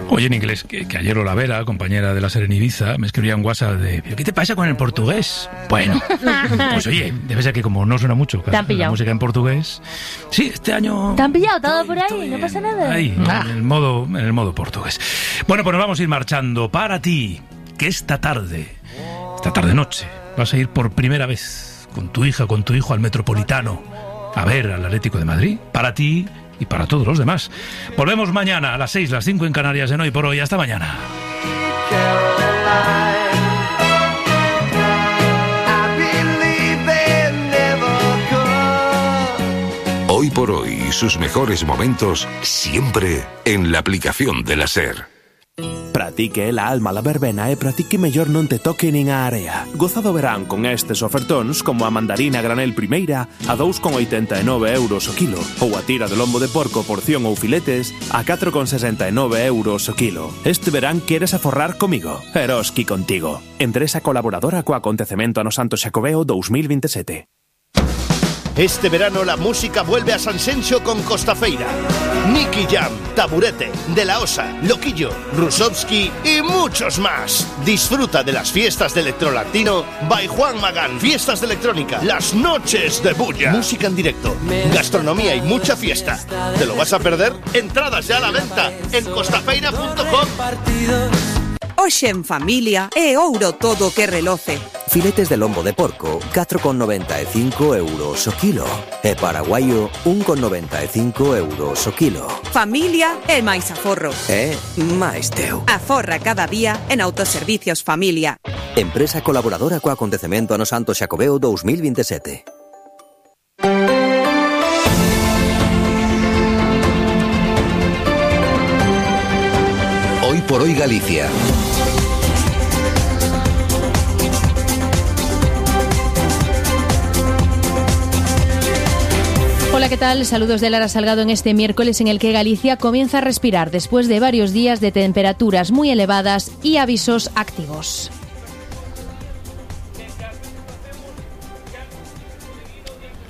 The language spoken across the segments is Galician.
Oye, en inglés, que ayer Olavera, compañera de la SER en Ibiza, me escribía un WhatsApp de ¿qué te pasa con el portugués? Bueno, pues oye, debe ser que como no suena mucho la música en portugués. Sí, este año... ¿Te han pillado todo por ahí? No pasa nada. Ahí, en el modo portugués. Bueno, pues nos vamos a ir marchando. Para ti, que esta tarde-noche, vas a ir por primera vez con tu hija, con tu hijo al Metropolitano a ver al Atlético de Madrid. Para ti y para todos los demás. Volvemos mañana a las 6, las 5 en Canarias en Hoy por Hoy. Hasta mañana. Hoy por Hoy, sus mejores momentos siempre en la aplicación de la SER. Pratique la alma la verbena e pratique mellor non te toque nin a area. Gozado verán con estes ofertóns como a mandarina granel primeira a 2,89 euros o kilo ou a tira de lombo de porco porción ou filetes a 4,69 euros o kilo. Este verán queres aforrar comigo. Eroski contigo. Empresa colaboradora co acontecemento Ano Santo Xacobeo 2027. Este verano la música vuelve a Sanxenxo con Costafeira. Nicky Jam, Taburete, De La Osa, Loquillo, Rusovsky y muchos más. Disfruta de las fiestas de Electrolatino by Juan Magán. Fiestas de electrónica, las noches de bulla. Música en directo, gastronomía y mucha fiesta. ¿Te lo vas a perder? Entradas ya a la venta en costafeira.com. Hoxe en familia é ouro todo que reloce. Filetes de lombo de porco, 4,95 euros o kilo. E paraguaio, 1,95 euros o kilo. Familia é máis aforro. É máis teu. Aforra cada día en Autoservicios Familia. Empresa colaboradora co acontecemento Ano Santo Xacobeo 2027. Hoy por Hoy Galicia. Hola, ¿qué tal? Saludos de Lara Salgado en este miércoles en el que Galicia comienza a respirar después de varios días de temperaturas muy elevadas y avisos activos.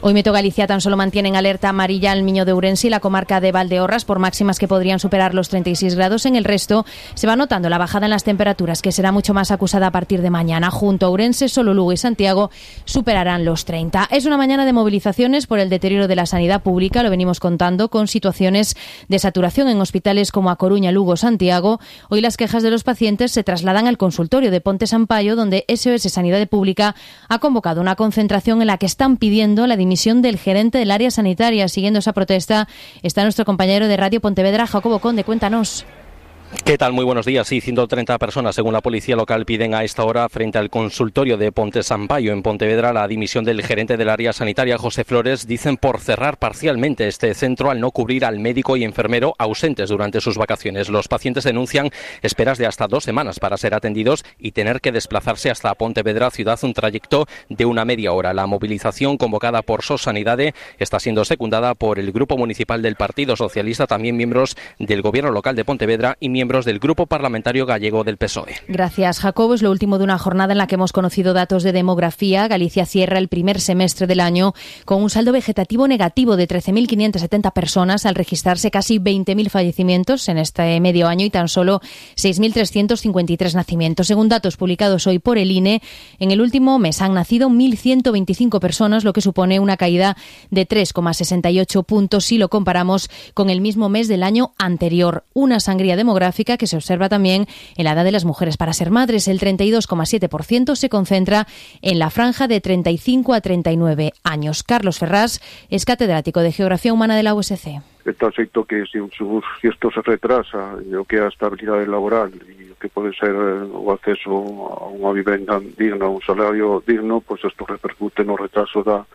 Hoy Meto Galicia tan solo mantiene en alerta amarilla el Miño de Ourense y la comarca de Valdeorras por máximas que podrían superar los 36 grados. En el resto se va notando la bajada en las temperaturas, que será mucho más acusada a partir de mañana. Junto a Ourense, solo Lugo y Santiago superarán los 30. Es una mañana de movilizaciones por el deterioro de la sanidad pública, lo venimos contando, con situaciones de saturación en hospitales como A Coruña, Lugo, Santiago. Hoy las quejas de los pacientes se trasladan al consultorio de Ponte Sampaio, donde SOS Sanidade Pública ha convocado una concentración en la que están pidiendo la dimisión del gerente del área sanitaria. Siguiendo esa protesta está nuestro compañero de Radio Pontevedra, Jacobo Conde. Cuéntanos. ¿Qué tal? Muy buenos días. Sí, 130 personas, según la policía local, piden a esta hora frente al consultorio de Ponte Sampaio en Pontevedra la dimisión del gerente del área sanitaria, José Flores. Dicen por cerrar parcialmente este centro al no cubrir al médico y enfermero ausentes durante sus vacaciones. Los pacientes denuncian esperas de hasta 2 semanas para ser atendidos y tener que desplazarse hasta Pontevedra ciudad, un trayecto de una media hora. La movilización convocada por SOS Sanidade está siendo secundada por el Grupo Municipal del Partido Socialista, también miembros del Gobierno local de Pontevedra y miembros del Grupo Parlamentario Gallego del PSOE. Gracias, Jacobo. Es lo último de una jornada en la que hemos conocido datos de demografía. Galicia cierra el primer semestre del año con un saldo vegetativo negativo de 13.570 personas, al registrarse casi 20.000 fallecimientos en este medio año y tan solo 6.353 nacimientos. Según datos publicados hoy por el INE, en el último mes han nacido 1.125 personas, lo que supone una caída de 3,68 puntos si lo comparamos con el mismo mes del año anterior. Una sangría demográfica que se observa también en la edad de las mujeres para ser madres. El 32,7% se concentra en la franja de 35 a 39 años. Carlos Ferrás es catedrático de Geografía Humana de la USC. Está feito que si isto se retrasa, o que é a estabilidade laboral e o que pode ser o acceso a unha vivenda digna, un salario digno, pues isto repercute no retraso da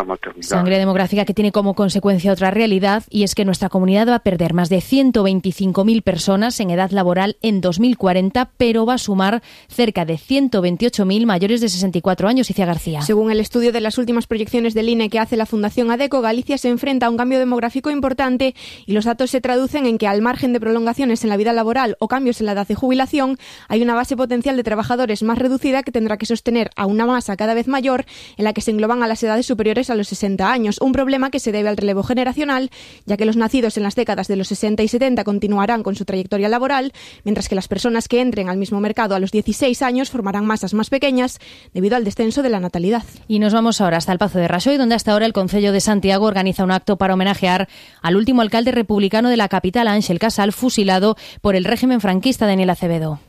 maternidad. Sangre demográfica que tiene como consecuencia otra realidad, y es que nuestra comunidad va a perder más de 125.000 personas en edad laboral en 2040, pero va a sumar cerca de 128.000 mayores de 64 años. Icia García. Según el estudio de las últimas proyecciones del INE que hace la Fundación ADECO, Galicia se enfrenta a un cambio demográfico importante y los datos se traducen en que, al margen de prolongaciones en la vida laboral o cambios en la edad de jubilación, hay una base potencial de trabajadores más reducida que tendrá que sostener a una masa cada vez mayor en la que se engloban a las edades superiores mayores a los 60 años, un problema que se debe al relevo generacional, ya que los nacidos en las décadas de los 60 y 70 continuarán con su trayectoria laboral, mientras que las personas que entren al mismo mercado a los 16 años formarán masas más pequeñas debido al descenso de la natalidad. Y nos vamos ahora hasta el Pazo de Raxoi, donde hasta ahora el Concello de Santiago organiza un acto para homenajear al último alcalde republicano de la capital, Ángel Casal, fusilado por el régimen franquista, Daniel Acevedo.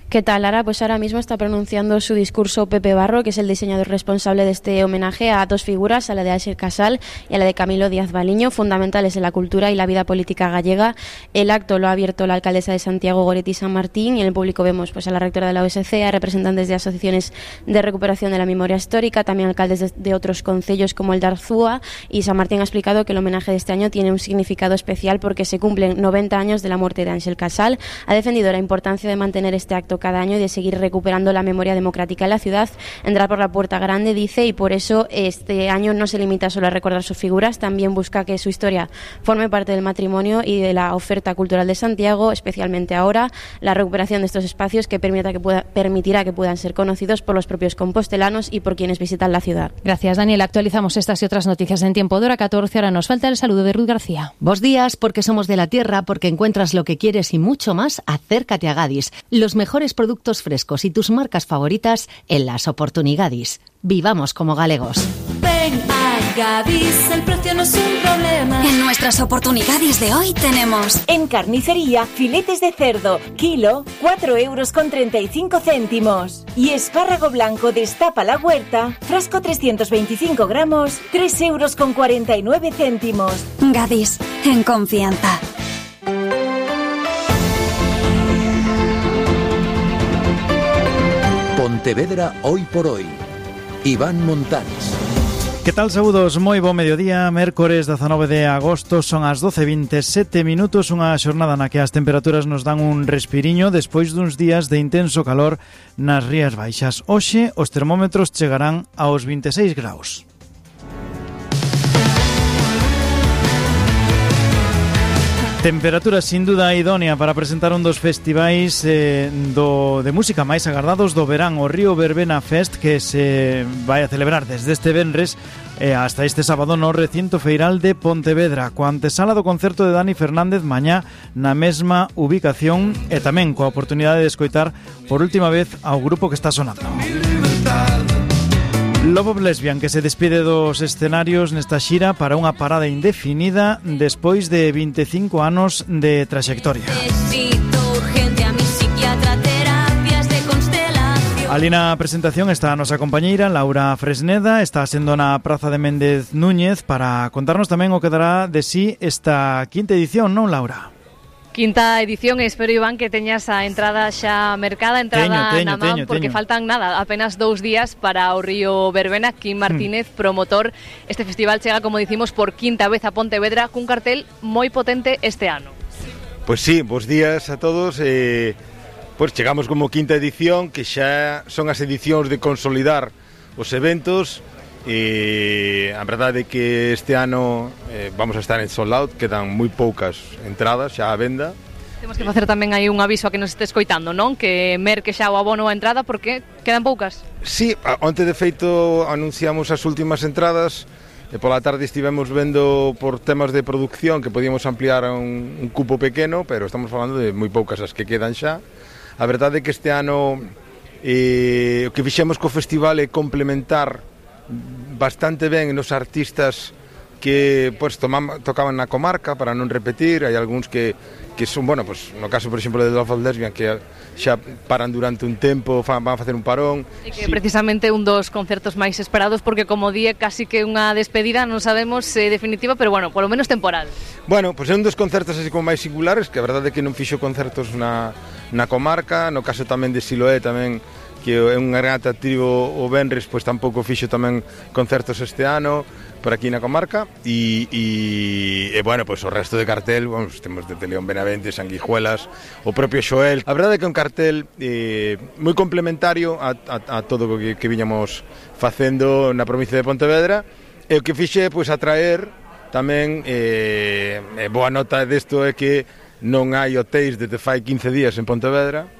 ¿Qué tal, Lara? Pues ahora mismo está pronunciando su discurso Pepe Barro, que es el diseñador responsable de este homenaje a dos figuras, a la de Ángel Casal y a la de Camilo Díaz Baliño, fundamentales en la cultura y la vida política gallega. El acto lo ha abierto la alcaldesa de Santiago, Goretti San Martín, y en el público vemos pues a la rectora de la OSC, a representantes de asociaciones de recuperación de la memoria histórica, también alcaldes de otros concellos como el de Arzúa, y San Martín ha explicado que el homenaje de este año tiene un significado especial porque se cumplen 90 años de la muerte de Ángel Casal. Ha defendido la importancia de mantener este acto cada año y de seguir recuperando la memoria democrática en la ciudad. Entrar por la puerta grande, dice, y por eso este año no se limita solo a recordar sus figuras, también busca que su historia forme parte del patrimonio y de la oferta cultural de Santiago, especialmente ahora la recuperación de estos espacios que permitirá que puedan ser conocidos por los propios compostelanos y por quienes visitan la ciudad. Gracias, Daniel. Actualizamos estas y otras noticias en tiempo de hora 14. Ahora nos falta el saludo de Ruth García. Bos días, porque somos de la tierra, porque encuentras lo que quieres y mucho más. Acércate a Gadis. Los mejores productos frescos y tus marcas favoritas en las Oportunigadis. Vivamos como galegos. Ven a Gadis, el precio no es un problema. En nuestras Oportunidades de hoy tenemos: en carnicería, filetes de cerdo, kilo, 4,35 €. Y espárrago blanco destapa la huerta, frasco 325 gramos, 3,49 €. Gadis, en confianza. Pontevedra hoy por hoy. Iván Montanes. Que tal, saúdos? Moi bo mediodía, mércores 19 de agosto, son as 12:27 minutos, unha xornada na que as temperaturas nos dan un respiriño despois duns días de intenso calor nas Rías Baixas. Hoxe os termómetros chegarán aos 26 graus. Temperatura sin duda idónea para presentar un dos festivais de música máis agardados do verán, o Río Verbena Fest, que se vai a celebrar desde este venres hasta este sábado no recinto feiral de Pontevedra, coa antesala do concerto de Dani Fernández mañá na mesma ubicación e tamén coa oportunidade de escoitar por última vez ao grupo que está sonando. Love of Lesbian, que se despide dos escenarios nesta xira para unha parada indefinida despois de 25 anos de traxectoria. Ali na presentación está a nosa compañeira Laura Fresneda, está sendo na Praza de Méndez Núñez para contarnos tamén o que dará de sí esta quinta edición, non, Laura? Quinta edición, espero, Iván, que teñas a entrada xa mercada, entrada na man, porque faltan nada, apenas 2 días para o Río Verbena. Quim Martínez, promotor, este festival chega, como dicimos, por quinta vez a Pontevedra, cun cartel moi potente este ano. Pois sí, bos días a todos. Pois chegamos como quinta edición, que xa son as edicións de consolidar os eventos. E a verdade é que este ano vamos a estar en sold out, quedan moi poucas entradas xa á venda. Temos que facer tamén aí un aviso a que nos este escoitando, non? Que merque xa o abono a entrada porque quedan poucas. Sí, onte de feito anunciamos as últimas entradas e pola tarde estivemos vendo por temas de producción que podíamos ampliar a un cupo pequeno, pero estamos falando de moi poucas as que quedan xa. A verdade é que este ano o que fixemos co festival é complementar bastante ben nos artistas que pues, tocaban na comarca, para non repetir. Hai algúns que son, bueno, pues, no caso, por exemplo, de Love of Lesbian, que xa paran durante un tempo, van a facer un parón. E que precisamente un dos concertos máis esperados, porque como die casi que unha despedida, non sabemos definitiva, pero bueno, polo menos temporal. Bueno, pues é un dos concertos así como máis singulares, que a verdade é que non fixo concertos na comarca. No caso tamén de Siloé, tamén, que é un gran atractivo o venres, pois tampouco fixo tamén concertos este ano por aquí na comarca e bueno, pois o resto de cartel, vamos, temos de León Benavente, Sanguijuelas, o propio Xoel. A verdade é que é un cartel moi complementario a todo o que viñamos facendo na provincia de Pontevedra, e o que fixe pois atraer tamén boa nota desto é que non hai hotéis desde fai 15 días en Pontevedra.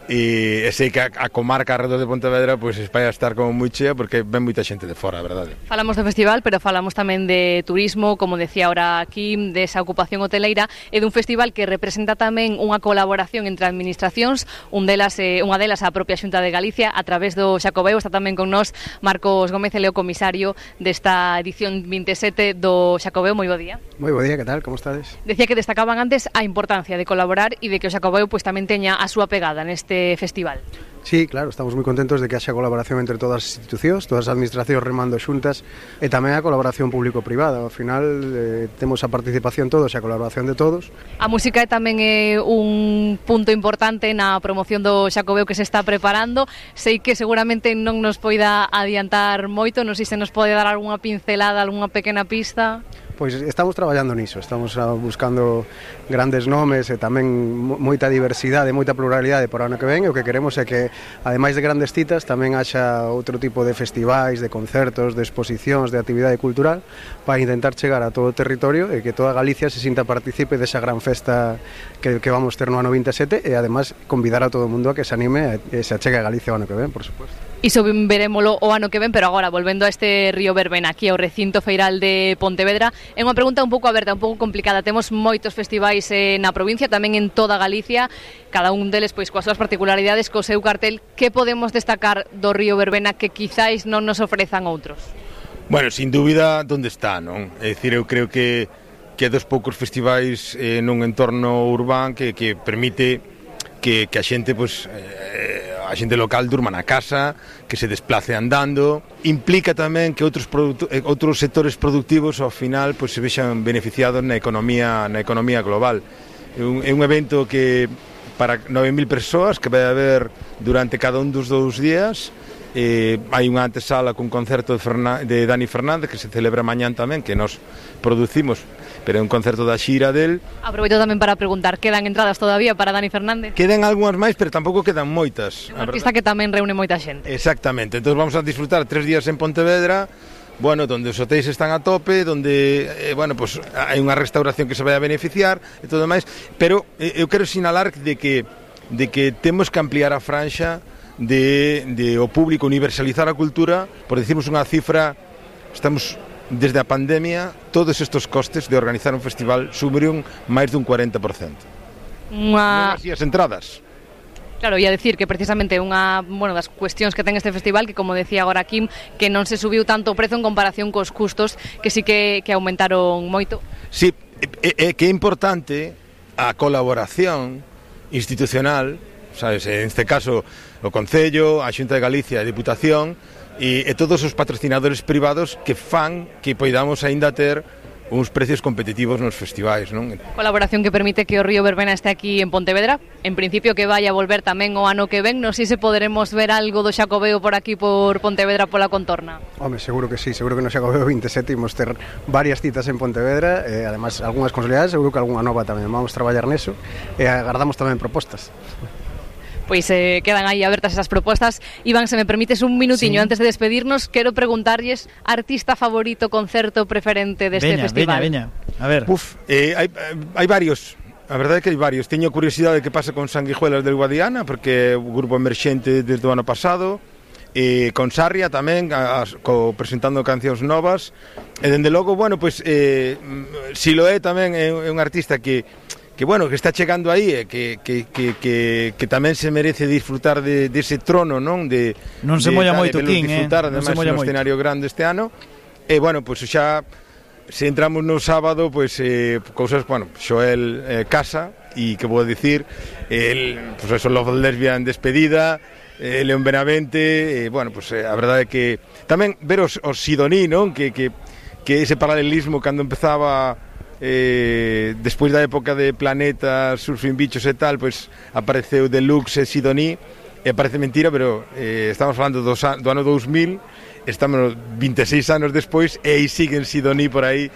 e sei que a comarca alrededor de Pontevedra pois vai a estar como moi chea porque ven moita xente de fora, a verdade. Falamos do festival, pero falamos tamén de turismo, como decía ahora aquí, desa ocupación hoteleira e dun festival que representa tamén unha colaboración entre administracións, unha delas a propia Xunta de Galicia a través do Xacobeo. Está tamén con nós Marcos Gómez, ele o comisario desta edición 27 do Xacobeo. Moi bo día. Moi bo día, que tal? Como estades? Decía que destacaban antes a importancia de colaborar e de que o Xacobeo pois tamén teña a súa pegada neste festival. Sí, claro, estamos moi contentos de que haxa colaboración entre todas as institucións, todas as administracións remando xuntas e tamén a colaboración público-privada. Ao final temos a participación todos e a colaboración de todos. A música tamén é un punto importante na promoción do Xacobeo que se está preparando. Sei que seguramente non nos poida adiantar moito, non sei se nos pode dar algunha pincelada, algunha pequena pista. Pois estamos traballando niso, estamos buscando grandes nomes e tamén moita diversidade, moita pluralidade para o ano que ven, e o que queremos é que, ademais de grandes citas, tamén haxa outro tipo de festivais, de concertos, de exposicións, de actividade cultural, para intentar chegar a todo o territorio e que toda Galicia se sinta partícipe desa gran festa que vamos ter no ano 27 e, además, convidar a todo o mundo a que se anime e se achegue a Galicia o ano que ven, por suposto. Iso verémolo o ano que ven, pero agora, volvendo a este Río Verbena, aquí ao recinto feiral de Pontevedra, é unha pregunta un pouco aberta, un pouco complicada. Temos moitos festivais na provincia, tamén en toda Galicia, cada un deles pois coas súas particularidades, co seu cartel. Que podemos destacar do Río Verbena que quizáis non nos ofrezan outros? Bueno, sin dúbida, onde está, non? É dicir, eu creo que é dos poucos festivais nun entorno urbán que permite que a xente, pois, a xente local durma na casa, que se desplace andando. Implica tamén que outros sectores productivos ao final pois se vexan beneficiados na economía global. É un evento que para 9.000 persoas que vai haber durante cada un dos 2 días. Hai unha antesala cun concerto de Dani Fernández que se celebra mañán tamén, que nos producimos, pero é un concerto da xira del. Aproveito tamén para preguntar, quedan entradas todavía para Dani Fernández? Quedan algunhas máis, pero tampouco quedan moitas. É un artista que tamén reúne moita xente. Exactamente, entón vamos a disfrutar 3 días en Pontevedra, bueno, donde os hotéis están a tope, donde, bueno, pues hai unha restauración que se vai a beneficiar e todo máis, pero eu quero sinalar de que temos que ampliar a franxa de o público, universalizar a cultura. Por decirmos unha cifra, estamos desde a pandemia, todos estes costes de organizar un festival subiron máis dun 40%. Non así as entradas. Claro, ia decir que precisamente unha das cuestións que ten este festival, que como decía agora Kim, que non se subiu tanto o prezo en comparación cos custos, que sí que aumentaron moito. Sí, é que é importante a colaboración institucional, sabes, en este caso o Concello, a Xunta de Galicia, a Diputación e todos os patrocinadores privados que fan que poidamos aínda ter uns precios competitivos nos festivais, non? Colaboración que permite que o Río Verbena este aquí en Pontevedra, en principio que vai a volver tamén o ano que ven. Non sei se poderemos ver algo do Xacobeo por aquí, por Pontevedra, pola contorna. Home, seguro que sí, seguro que no Xacobeo 27 imos ter varias citas en Pontevedra, además algunhas consolidadas, seguro que algunha nova tamén. Vamos traballar neso e agardamos tamén propostas. Pois quedan aí abertas esas propostas. Iván, se me permites un minutiño antes de despedirnos, quero preguntarlles artista favorito, concerto preferente deste festival. Veña, a ver. Hai varios. A verdade é que hai varios. Teño curiosidade de que pasa con Sanguijuelas del Guadiana, porque é un grupo emerxente desde o ano pasado, e con Sarria tamén, presentando cancións novas, e dende logo, bueno, pois Siloé tamén é un artista que está chegando aí, que tamén se merece disfrutar dese trono, non? Non se molla moito, King, disfrutar, ademais, un escenario grande este ano. E, bueno, pois xa, se entramos no sábado, pois, cousas, bueno, Xoel Casa, e que vou dicir, pois, eso, Love Lesbian Despedida, León Benavente, bueno, pois, a verdade é que tamén ver os Sidoní, non? Que ese paralelismo cando empezaba despois da época de Planeta, Surfing Bichos e tal, pois apareceu Deluxe e Sidoní, e parece mentira, pero estamos falando do ano 2000, estamos 26 anos despois e aí siguen Sidoní por aí.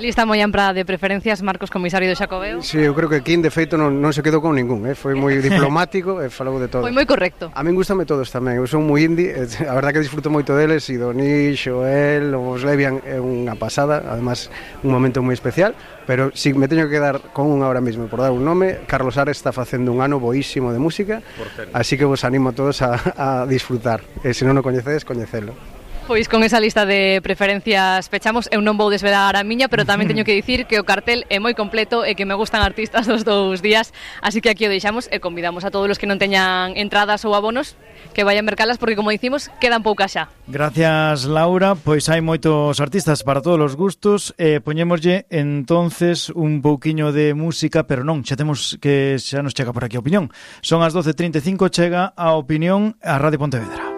Lista moi ampla de preferencias, Marcos, comisario do Xacobeo. Sí, eu creo que Quín, de feito, non se quedou con ningún, foi moi diplomático e falou de todo. Foi moi correcto. A min gustame todos tamén, eu son moi indie, a verdad que disfruto moito deles, e Donish, Joel, os Levian é unha pasada, además un momento moi especial, pero si me teño que quedar con un ahora mesmo por dar un nome, Carlos Ares está facendo un ano boísimo de música, así que vos animo a todos a disfrutar, e se non o coñecedes, coñecelo. Pois con esa lista de preferencias pechamos. Eu non vou desvelar a miña, pero tamén teño que dicir que o cartel é moi completo e que me gustan artistas dos dous días, así que aquí o deixamos e convidamos a todos os que non teñan entradas ou abonos que vayan mercalas, porque como dicimos, quedan poucas xa. Gracias, Laura. Pois hai moitos artistas para todos os gustos e poñémoslle entonces un pouquiño de música, pero non, xa temos que xa nos chega por aquí a opinión. Son as 12:35, chega a opinión a Radio Pontevedra.